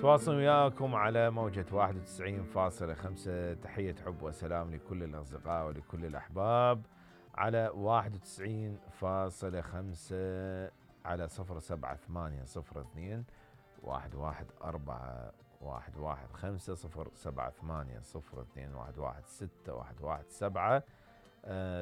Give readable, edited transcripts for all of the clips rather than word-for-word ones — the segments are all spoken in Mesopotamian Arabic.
تواصل وياكم على موجة 91.5. تحية حب وسلام لكل الأصدقاء ولكل الأحباب على 91.5 على 07802 114 115 078 02 116 117.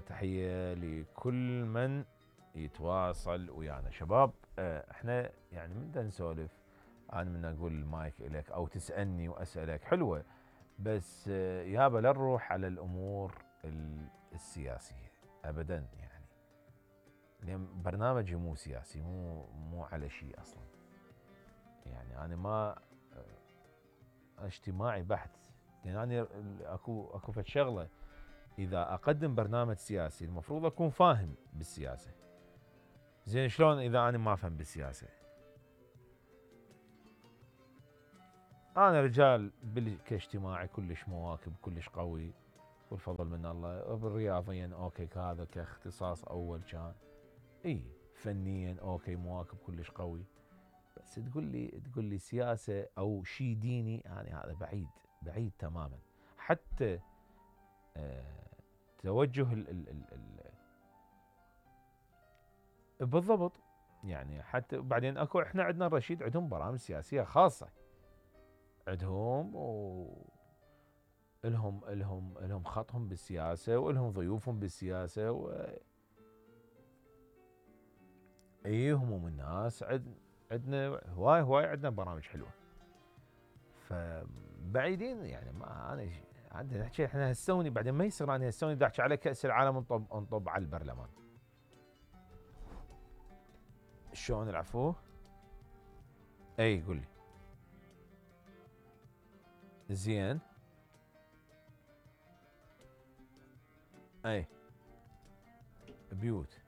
تحية لكل من يتواصل ويانا. شباب احنا يعني من دا نسولف، انا من اقول المايك اليك او تسألني واسألك حلوة، بس يابا لا نروح على الامور السياسية ابدا، يعني لان برنامجي مو سياسي، مو على شيء اصلا، يعني انا ما اجتماعي بحت، لان انا اكو فد شغله، اذا اقدم برنامج سياسي المفروض اكون فاهم بالسياسه. زين شلون اذا انا ما افهم بالسياسه؟ انا رجال كاجتماعي كلش مواكب، كلش قوي والفضل من الله. بالرياضيا اوكي، هذا كاختصاص اول كان فنيا اوكي مواكب كلش قوي، بس تقول لي سياسه او شيء ديني، يعني هذا بعيد تماما. حتى توجه بالضبط، يعني حتى بعدين اكو، احنا عندنا الرشيد عندهم برامج سياسيه خاصه عندهم، لهم خطهم بالسياسه، ولهم ضيوفهم بالسياسه، هموم الناس. عندنا هواي عندنا برامج حلوه، فبعيدين يعني. ما انا عندنا نحكي احنا هسوني، بعدين ما يصير انا هسوني دا احكي على كاس العالم انطب على البرلمان. شلون العفو؟ قول لي. زين بيوت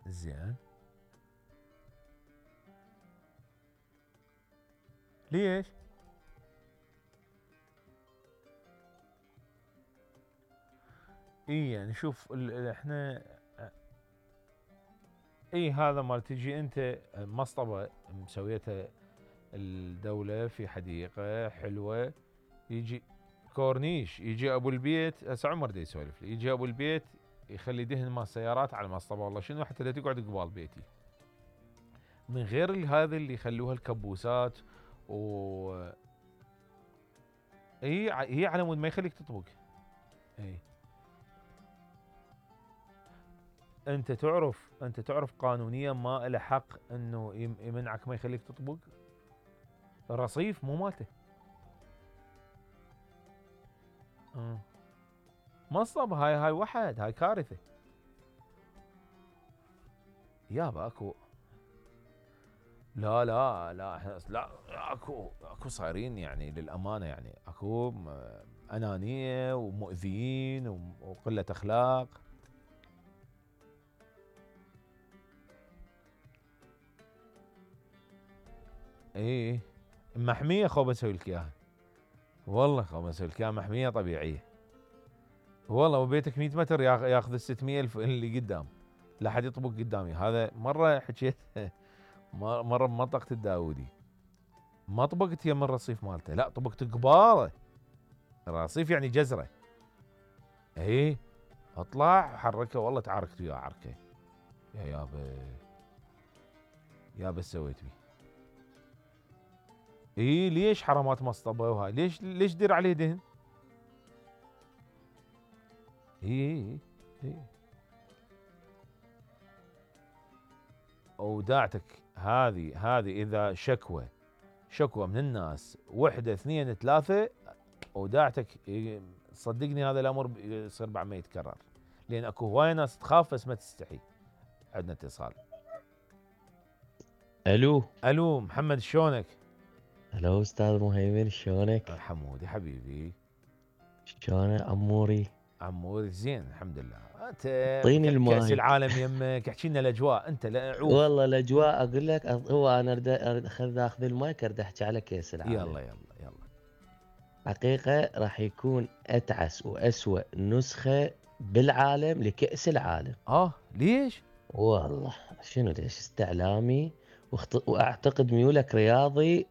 زين. ليش؟ يعني شوف احنا هذا مال تجي انت مصطبة مسويتها الدولة في حديقة حلوة، يجي كورنيش، يجي ابو البيت، هسه عمر دا يسولف لي، يجي ابو البيت يخلي دهن مال سيارات على المصطبة، والله شنو حتى لا تقعد قبال بيتي، من غير هذا اللي يخلوها الكبوسات هي على مود ما يخليك تطبق. انت تعرف قانونيا ما له حق انه يمنعك ما يخليك تطبق. الرصيف مو مالته. مصطبة هاي وحد، هاي كارثة يابا. اكو لا احنا لا، اكو صايرين يعني للامانة، يعني اكو انانية ومؤذيين وقلة اخلاق. محمية خو بسوي لك اياها، والله خو بسوي لك اياها محمية طبيعية، والله. وبيتك 100 متر ياخذ 600,000 اللي قدام، لا حد يطبق قدامي. هذا مرة حكيت مرة بمنطقة الداودي، ما طبقت يم الرصيف مالته، لا طبقت قباله. الرصيف يعني جزرة، اطلع حركه، والله تعاركت وياه عركه. يا يابا سويت بيه. ليش حرامات مصطبه وهاي؟ ليش دير عليه دهن؟ وداعتك هذه اذا شكوى من الناس 1 2 3 وداعتك، صدقني هذا الامر يصير بعد ما يتكرر، لان اكو هواي ناس تخاف بس ما تستحي. عندنا اتصال. الو محمد شلونك؟ هلا استاذ مهيمن شلونك؟ حمودي حبيبي شلون اموري زين الحمد لله. انت طيني الماي، كأس العالم يمك، احكي لنا الاجواء انت. لا عوف والله الاجواء اقول لك، هو انا اخذ المايك اريد احكي على كاس العالم. يلا حقيقه راح يكون اتعس واسوأ نسخه بالعالم لكأس العالم. ليش؟ والله شنو ليش؟ استعلامي واعتقد ميولك رياضي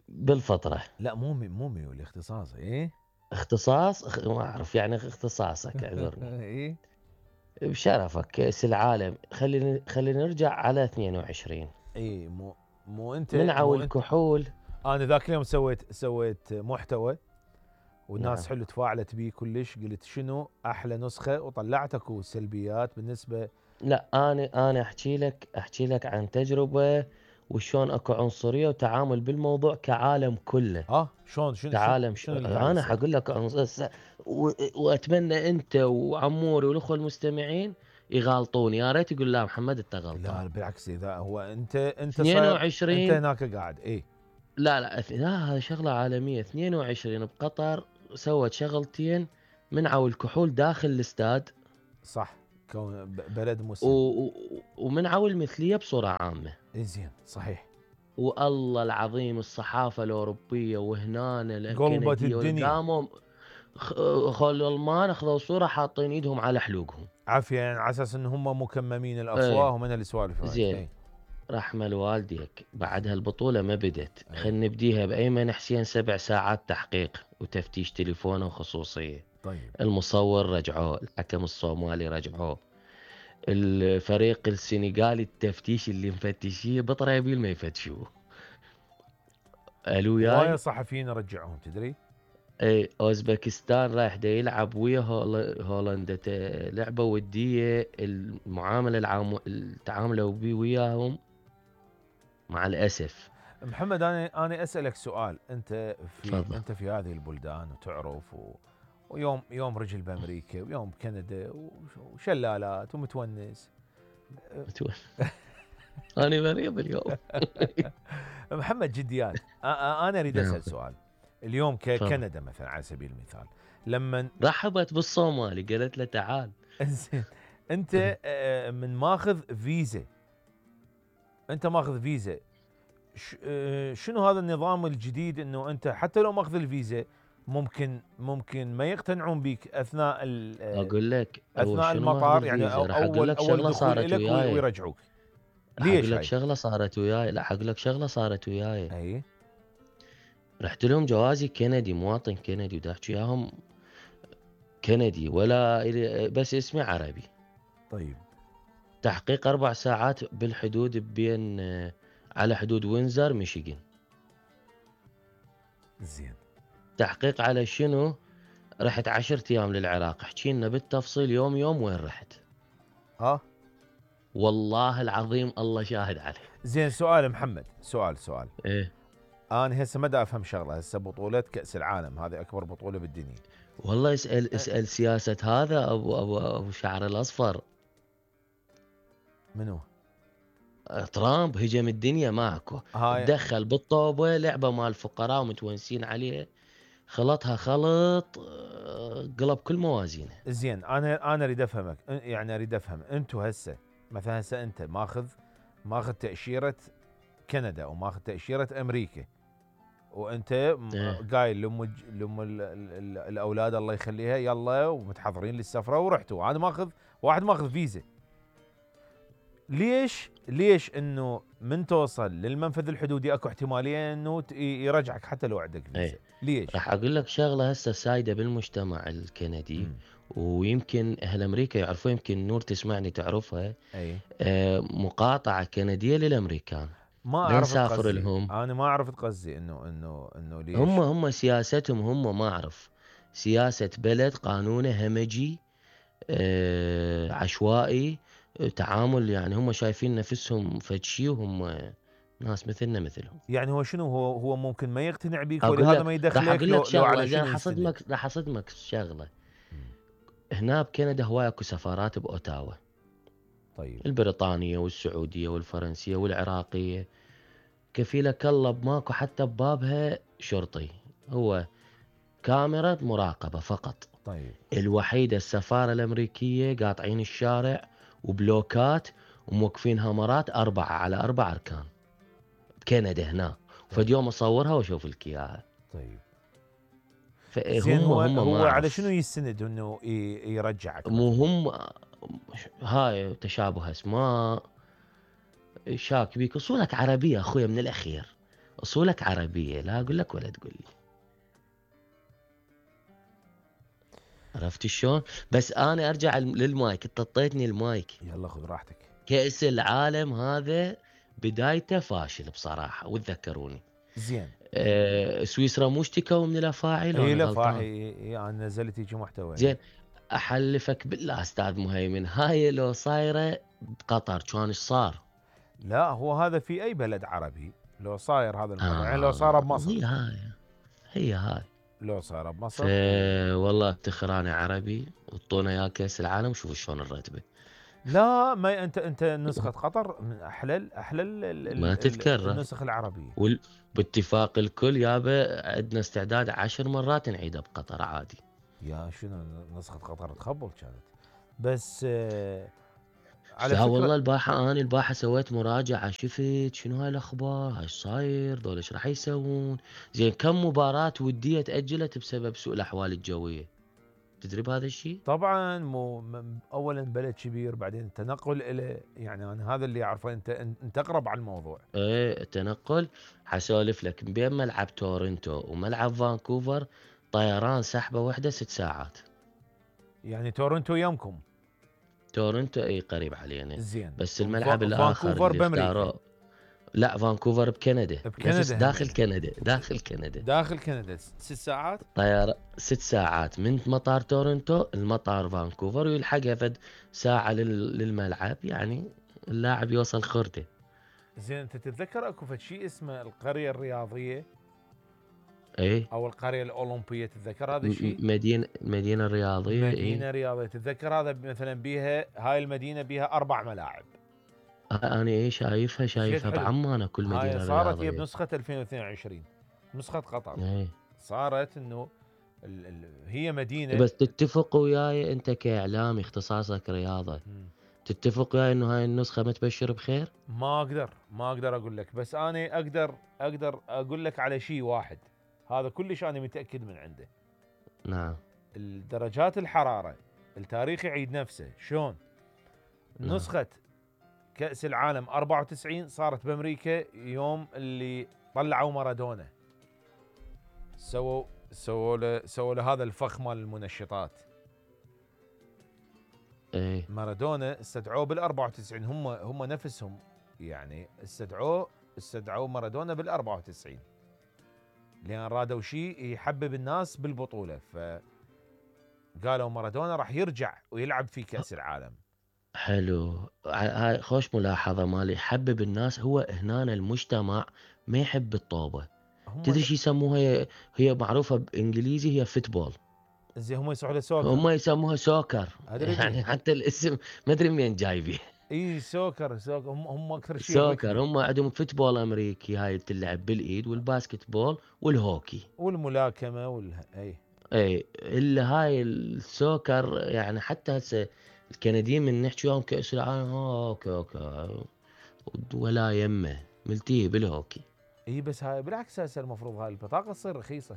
بالفطرة. لا مو ميولي، اختصاص. ايه اختصاص ما اعرف يعني اختصاصك، اعذرني. ايه بشرفك كأس العالم، خلينا نرجع على 22. ايه مو انت منعوا مو انت الكحول. انا ذاك اليوم سويت محتوى والناس نعم. حلو تفاعلت بيه كلش. قلت شنو احلى نسخه وطلعت اكو سلبيات بالنسبه. لا انا احكي لك عن تجربة، وشون اكو عنصرية وتعامل بالموضوع كعالم كله. شلون شنو شنو كعالم شنو اللي قاعد انا يصير؟ حقول لك واتمنى انت وعموري والاخوه المستمعين يغالطون، يا ريت يقول لا محمد انت غلطان. لا بالعكس، اذا هو انت صاير، انت 22. هناك قاعد. ايه لا هذه شغله عالميه. 22 بقطر سوت شغلتين، منعوا الكحول داخل الاستاد، صح، كون بلد و... مسلم. و... ومنعوا المثليه بصوره عامه. زين صحيح. والله العظيم الصحافه الاوروبيه وهنا قلبت الكنديه الدنيا قدامهم خلوا الالمان اخذوا صوره حاطين ايدهم على حلوقهم. عافيه، يعني على اساس ان هم مكممين الافواه ايه ومن السوالف هاي. زين. ايه رحمة والديك، بعدها البطولة ما بدت. ايه خلينا نبديها بأيمن حسين 7 ساعات تحقيق وتفتيش تليفونه وخصوصية. طيب. المصور رجعوه، الحكم الصومالي رجعوه، الفريق السنغالي التفتيش اللي مفتشيه بطريبيل ما يفتشوه. الو هوايه ياي. صحفيين رجعوهم تدري. اي اوزبكستان رايح دا يلعب ويا هولندا لعبة ودية، المعاملة التعاملوا بيه وياهم مع الأسف. محمد انا اسالك سؤال. تفضل. انت في هذه البلدان وتعرف ويوم رجل بامريكا ويوم بكندا وشلالات ومتونس. أنا مريض اليوم. محمد جديات، انا اريد نعم. اسال سؤال. اليوم تفضل. ككندا مثلا على سبيل المثال، لما رحبت بالصومالي قالت له تعال. زين انت من ماخذ فيزا، انت ماخذ فيزا، شنو هذا النظام الجديد انه انت حتى لو ماخذ الفيزا ممكن ما يقتنعون بك اثناء اقول لك اثناء شنو ماخذ المطار، يعني الفيزا، راح اقول لك اول شغله دخول صارت لك وياي. ويرجعوك. راح اقول ليش لك هاي؟ شغله صارت وياي. لا اقول لك شغله صارت وياي. اي رحت لهم جوازي كندي، مواطن كندي، ودا احكي وياهم كندي ولا بس اسمي عربي. طيب. تحقيق 4 ساعات بالحدود بين على حدود وينزر ميشيغان. زين. تحقيق على شنو؟ رحت 10 ايام للعراق، احكي لنا بالتفصيل يوم وين رحت. والله العظيم الله شاهد عليه. زين سؤال محمد، سؤال ايه. انا هسه ما دا افهم شغله. هسه بطوله كاس العالم هذه اكبر بطوله بالدنيا. والله اسال سياسه هذا ابو شعر الاصفر. منو؟ ترامب هجم الدنيا ماكو. تدخل بالطوبه لعبه مال الفقراء ومتونسين عليه، خلطها خلط قلب كل موازينه. زين انا اريد افهمك، يعني اريد افهم انتم هسه مثلا انت ماخذ تاشيره كندا وماخذ تاشيره امريكا، وانت قايل لام الاولاد الله يخليها يلا ومتحضرين للسفره ورحتوا. انا واحد ماخذ فيزا. ليش انه من توصل للمنفذ الحدودي اكو احتماليه انه يرجعك حتى لو عندك فيزا؟ ليش؟ راح اقول لك شغله هسه سايده بالمجتمع الكندي. ويمكن اهل امريكا يعرفوا، يمكن نور تسمعني تعرفها. اي مقاطعه كنديه للامريكان. ما اعرف نسافر لهم. انا ما عرفت قصدي انه ليش. هم سياستهم، هم ما اعرف سياسه بلد قانونه همجي عشوائي تعامل. يعني هم شايفين نفسهم فد شيء وهم ناس مثلنا مثلهم. يعني هو شنو هو ممكن ما يقتنع بيك أقول ولهذا لك ما راح يدخلك اقول لك لو شغله على زين. شنو راح اصدمك شغله. هنا بكندا هواي اكو سفارات باوتاوا. طيب. البريطانيه والسعوديه والفرنسيه والعراقيه. كفيلك الله ماكو حتى ببابها شرطي، هو كاميرا مراقبه فقط. طيب. الوحيده السفاره الامريكيه قاطعين الشارع وبلوكات وموقفين هامرات 4 على 4 اركان بكندا هنا. فد يوم اصورها واشوف لك اياها. طيب. زين فهم هو ما على شنو اعرف. يستند انه يرجعك مو مثلا؟ هم هاي تشابه اسماء، شاك بيك. اصولك عربيه اخويا من الاخير، اصولك عربيه، لا اقول لك ولا تقول لي. عرفت شلون؟ بس انا ارجع للمايك، انت اعطيتني المايك. يلا خذ راحتك. كأس العالم هذا بدايته فاشل بصراحه، وتذكروني. زين. سويسرا مو اشتكوا من الافاعي لو اي انا لا غلطان؟ فاحي انا نزلت هيك محتوى زين، احلفك بالله استاذ مهيمن، هاي لو صايره بقطر كان ايش صار؟ لا هو هذا في اي بلد عربي لو صاير هذا الموضوع، يعني لو صار بمصر. هي هاي، هي هاي. لو صار بمصر والله افتخر انا عربي، وطونا يا كاس العالم، شوف شلون الرتبه. لا ما انت نسخة قطر من احلى ما تتكرر. النسخ العربية. باتفاق الكل يابا، عندنا استعداد 10 مرات نعيدها بقطر عادي. يا شنو نسخة قطر تخبل كانت. بس على لا فكرة والله البارحة سويت مراجعة، شفت شنو هاي الاخبار، هاي صاير دول ايش راح يسوون. زين كم مباراة ودية تأجلت بسبب سوء الاحوال الجوية، تدري بهذا الشيء؟ طبعا اولا بلد كبير، بعدين التنقل له، يعني انا هذا اللي اعرفه، انت اقرب على الموضوع. ايه التنقل، حسولف لك بين ملعب تورنتو وملعب فانكوفر طيران سحبة واحدة 6 ساعات. يعني تورنتو يمكم. تورنتو اي قريب علينا. زين. بس الملعب الاخر فانكوفر اللي بامريكا. اختاروه، لا فانكوفر بكندا، نفس بكندا داخل همينه. كندا، داخل كندا. داخل كندا 6 ساعات. طيارة 6 ساعات من مطار تورنتو المطار فانكوفر، ويلحقها فد ساعة للملعب، يعني اللاعب يوصل خرده. زين انت تتذكر اكو فد شيء اسمه القرية الرياضية ايه او القرية الاولمبية، تتذكر هذا الشيء؟ مدينة رياضية مدينة ايه. رياضية، تتذكر هذا مثلا بيها هاي المدينة بيها 4 ملاعب. انا ايه زين شايفها حلو. بعمان كل هاي مدينة صارت هي رياضية. بنسخة 2022، نسخة قطر. ايه صارت انه هي مدينة. بس تتفق وياي انت كاعلامي اختصاصك رياضة، تتفق وياي انه هاي النسخة ما تبشر بخير؟ ما اقدر اقول لك، بس انا اقدر اقول لك على شيء واحد، هذا كلش انا متاكد من عنده. نعم. الدرجات الحراره، التاريخ يعيد نفسه. شلون؟ نعم. نسخه كاس العالم 94 صارت بامريكا يوم اللي طلعوا مارادونا، سووا له هذا الفخ مال المنشطات. ايه مارادونا استدعوه بال 94، هم نفسهم يعني استدعوا مارادونا بال 94 لان رادوا شيء يحبب الناس بالبطوله، فقالوا مارادونا راح يرجع ويلعب في كاس العالم. حلو، هاي خوش ملاحظة مالي، يحبب الناس. هو هنا المجتمع ما يحب الطوبة. هم تدري شو يسموها؟ هي معروفة بانجليزي هي فوتبول، زي هم يسموها له سوكر. هم يسموها سوكر. ادري يعني بيه. حتى الاسم ما ادري منين جايبه. اي سوكر هم اكثر شيء سوكر، الركبي هم عندهم فوتبول امريكي هاي تلعب بالايد، والباسكت بول والهوكي. والملاكمه اي. اي الا هاي السوكر، يعني حتى هسه الكنديين من نحكي وياهم كأس العالم اوكي اوكي، ولا يمه ملتيه بالهوكي. اي بس هاي بالعكس، هسه المفروض هاي البطاقه تصير رخيصه.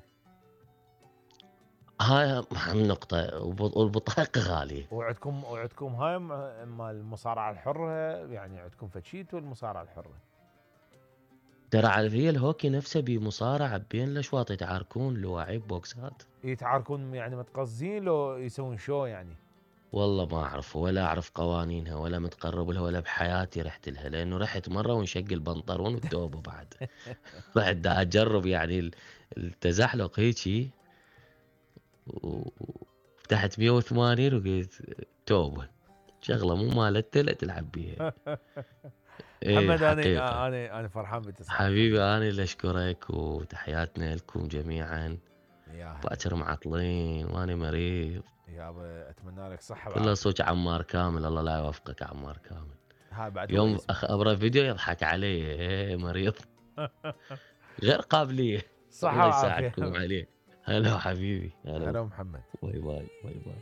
هاي أهم نقطة، والبطاقة غالية. وعندكم هاي مال المصارعه الحره، يعني عندكم فشيت والمصارعه الحره. ترى على هي الهوكي نفسه بمصارعة بين الأشواط يتعاركون لواعيب بوكسات. يتعاركون يعني متقصدين لو يسوون شو يعني؟ والله والله ما أعرف، ولا أعرف قوانينها، ولا متقرب لها، ولا بحياتي رحت لها، لأنه رحت مرة وانشق البنطلون والتوبة بعد. بعد دا أجرب يعني التزحلق هيجي، وفتحت 180 وقلت توبة، شغلة مو مالتها لا تلعب بيها. ايه محمد حقيقة. انا فرحان باتصالك حبيبي حبيبي. أنا اللي أشكرك، وتحياتنا لكم جميعا. يا هلا. باكر معطلين وأنا مريض. يابا اتمنى لك صحه كله وعافيه. صوت عمار كامل، الله لا يوفقك عمار كامل. هاي بعد هو يوم يسمع. أبرا فيديو يضحك علي، إيه مريض غير قابلية. صحه الله وعافيه. يساعدكم عليه. هلا حبيبي، هلا هلا. محمد. باي باي باي باي.